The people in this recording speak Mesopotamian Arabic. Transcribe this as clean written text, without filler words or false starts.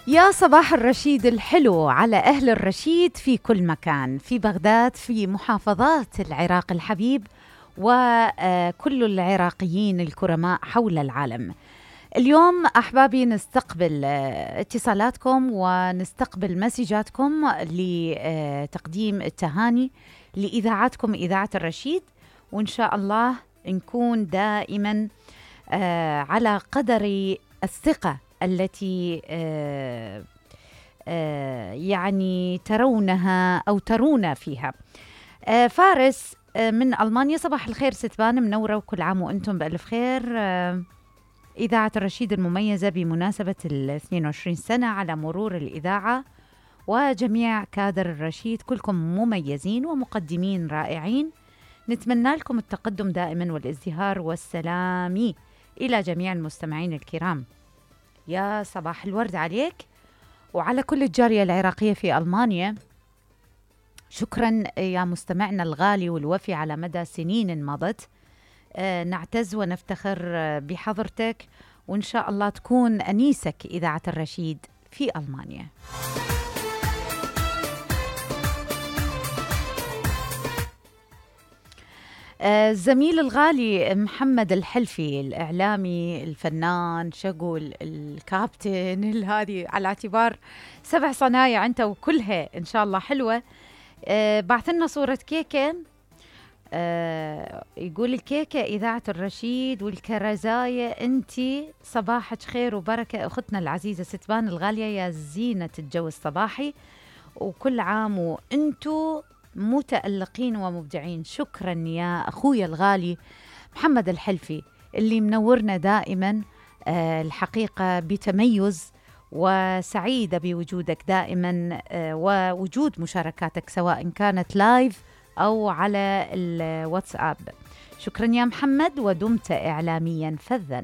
يا صباح الرشيد الحلو على أهل الرشيد في كل مكان، في بغداد، في محافظات العراق الحبيب، وكل العراقيين الكرماء حول العالم. اليوم أحبابي نستقبل اتصالاتكم ونستقبل مسجاتكم لتقديم التهاني لإذاعتكم إذاعة الرشيد، وإن شاء الله نكون دائما على قدر الثقة التي يعني ترونها أو ترون فيها. فارس من ألمانيا، صباح الخير ستبان، منورة وكل عام وأنتم بألف خير. إذاعة الرشيد المميزة بمناسبة 22 سنة على مرور الإذاعة، وجميع كادر الرشيد كلكم مميزين ومقدمين رائعين، نتمنى لكم التقدم دائما والازدهار والسلام إلى جميع المستمعين الكرام. يا صباح الورد عليك وعلى كل الجالية العراقية في ألمانيا. شكرا يا مستمعنا الغالي والوفي على مدى سنين مضت. نعتز ونفتخر بحضرتك، وإن شاء الله تكون أنيسك إذاعة الرشيد في ألمانيا. الزميل الغالي محمد الحلفي، الإعلامي الفنان شغل الكابتن هذه، على اعتبار 7 صنايع أنت وكلها إن شاء الله حلوة. بعث لنا صورة كيكة، يقول الكيكة إذاعة الرشيد والكرزاية أنتي صباحك خير وبركة أختنا العزيزة ستبان الغالية يا زينة الجو الصباحي، وكل عام وأنتو متألقين ومبدعين. شكرا يا أخويا الغالي محمد الحلفي اللي منورنا دائما، الحقيقة بتميز، وسعيدة بوجودك دائما ووجود مشاركاتك سواء كانت لايف أو على الواتساب. شكرا يا محمد ودمت إعلاميا فذا.